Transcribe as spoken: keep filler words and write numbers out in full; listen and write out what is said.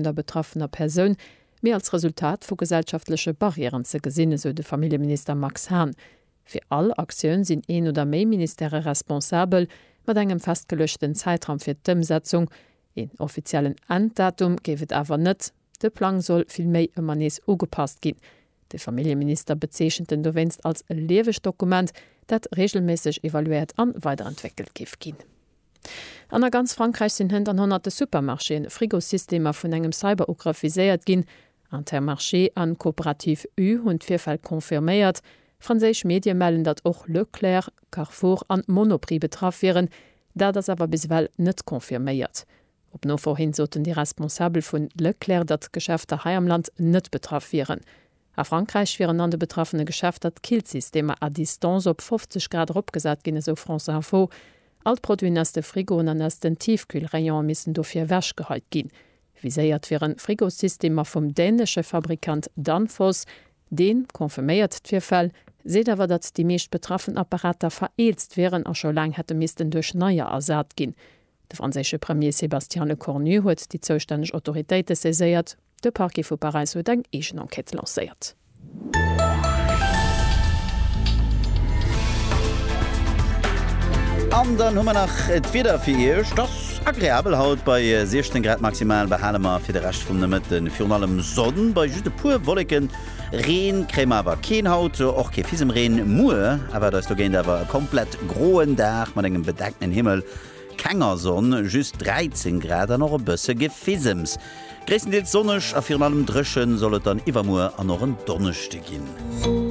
der betraffener Persoun, mee als Resultat vu gesellschaftleche Barrièren ze gesinn, esou de Familljeminister Max Hahn. Fir all Aktioun sinn een oder méi Ministèrë responsabel, mat engem festgeluechten Zäitraum fir d'Ëmsetzung. Een offiziellen Enddatum géif et awer net, de Plang soll vill méi ëmmer nees ugepasst ginn. De Familljeminister bezeechent en dowéinst als e liewegt Dokument, dat reegelméisseg evaluéiert an weiderentwéckelt géif ginn. An a ganz Frankräich sinn hënt an honnerte Supermarchéen Frigosystemer vun engem Cyberugrëff viséiert ginn. Intermarché an Coopérative U hunn d'Virfäll confirméiert. Franséisch Medie mellen, datt och Leclerc, Carrefour an Monoprix betraff wieren. Dat ass awer bis ewell net confirméiert. Op Nofro hin soten déi Responsabel vun Leclerc, datt d'Geschäfter hei am Land net betraff wieren. A Frankräich wieren an de betraffene Geschäfter d'Killsystemer à distance op fofzeg Grad eropgesat ginn, esou France Info. All d'Produiten aus de Frigoen an aus den Tiefkühlrayone missten dofir ewechgeheit ginn. Viséiert wieren Frigosystemer vum dänesche Fabrikant Danfoss. Dee confirméiert d'Virfäll, seet awer, datt déi meescht betraffen Apparater vereelzt wieren a scho laang hätte missten duerch neier ersat ginn. De franséische Premier Sébastien Lecornu huet déi zoustänneg Autoritéite saiséiert. De Parquet vu Paräis huet eng eegen Enquête lancéiert. An dann hu mer nach d'Wieder fir Iech. Et ass agreabel haut, bei siechzéng Grad maximal behale mer fir de Rescht vum Nomëtte virun allem Sonn bei just e puer Wolleken. Reen kréie mer awer keen haut, och kee Fisemreen. Muer erwaart eis dogéint awer e komplett groen Dag mat engem bedeckten Himmel. Kenger Sonn, just dräizéng Grad an och e bësse Gefisems. Gréisstendeels sonneg a virun allem dréche soll et dann iwwermuer an och en Donneschde ginn.